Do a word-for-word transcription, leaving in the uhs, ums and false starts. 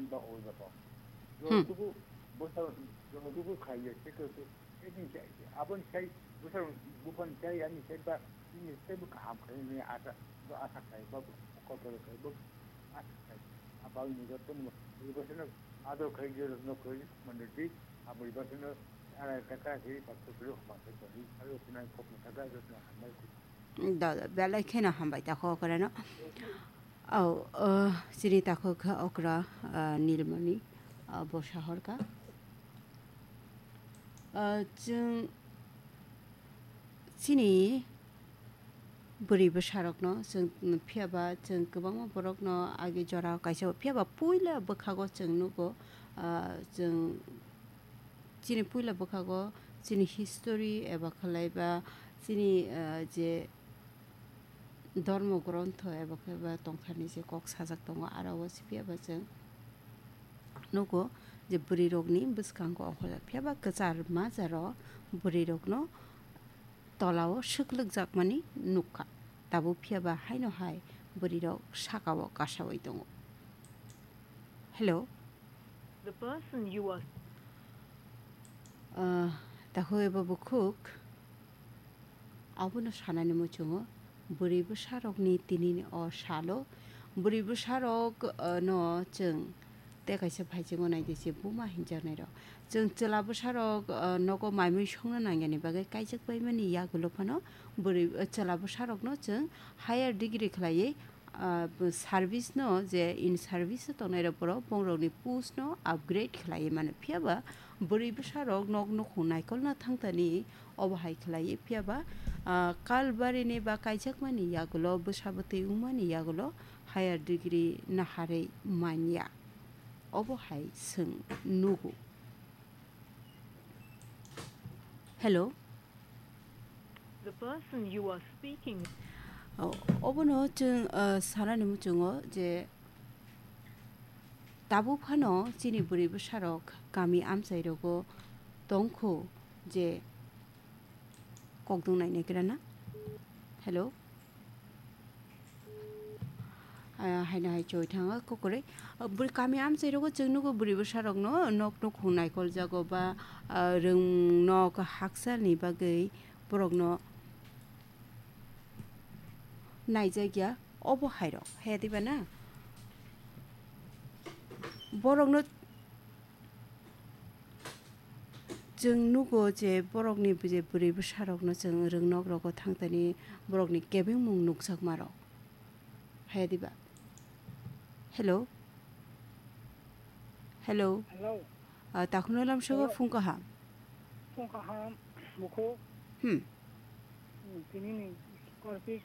chani ba oi ba to. Hmm. Jotogo bwsa jotogo khaiya se to se, se din chai, aboni sai bwsa buphani chai ani sai ba, ini sai bo kaham khai ni asa, bo asa khai ba, kokoro khai bo asa khai. Abang ni joto mo, bwsa no ador khai je no khai mane di, aboni bwsa no ara taka khai ba kokoro ma khai ba ni, ayo sinai kok ma taka joto hambai. Da, da, belai kheno hambai takhuk okrano. Au, uh, chini takhuk kha okra, uh, Nilmani, uh, bo sahorka. Uh, chwng chini bwrwi bwsarokno chwng phiyaba chwng kwbangma borokno agi jora kaisa phiyaba puila bwkhago chwng nugo, uh, chwng chini puila bwkhago chini history eba khlai ba chini, uh, je Dhormo grontho eba khe ba tongthani je kok sajak tongo, aro o siphiya ba chwng nugo je bwrwi rokni bwskango ongkhorjak, phiya ba kwchar majaro bwrwi rokno tolao swklwk jakmani nukha. Tabuk phiya ba haino hai bwrwi rok sakao kasawi tongo. Hello. The person you are Ah, takhuk eba bukhuk. Abono sanani muchungo, bwrwi bwsarokni tinini o salo, bwrwi bwsarok, ah, no chwng tei kaisa phaichingo naidi se buma hinjaknairok. Chwng chwla bwsarok, ah, nogo maimui songna nangyani bagwi kaijak paimani yagulo phano bwrwi, ah, chwla bwsarokno chwng higher degree khlaiwi ah, service no je in service o tongnai rok borok bongrokni post no upgrade khlaiwi mano, phiya ba bwrwi bwsa rok nok nukhung naikolna thangtani obo hai khlaiwi, phiya ba, ah, kalbarini ba kaijakmani yagulo bwsa bwtwi wngmani yagulo higher degree naharwi manya, obo hai chwng nugo. Hello. The person you are speaking. O-, obono chwng, uh, sanani muchungo je tabuk phano chini bwrwi bwsarok kami amchairogo tongkhu je kokdwng nainaikrana. Hello. Ah, haino hai choi thanga kokore. Ah, bwrwi kami amchai rogo chwng nugo bwrwi bwsa rokno nok nukhung naikol jago ba, ah, rwng nok haksa ni bagwi borokno naijakya obo hai rok. He diba na? Borokno Chwng nugo je borokni je bwrwi bwsarokno chwng rwngnok rogo thangtani borokni kebengmung nukjakmarok. Haya diba? Hello? Hello? Hello? Ah, takhukno lamsogo Hello? Phung kaham. Phung kaham, bukhuk. Hmm. Hmm, tinini korpis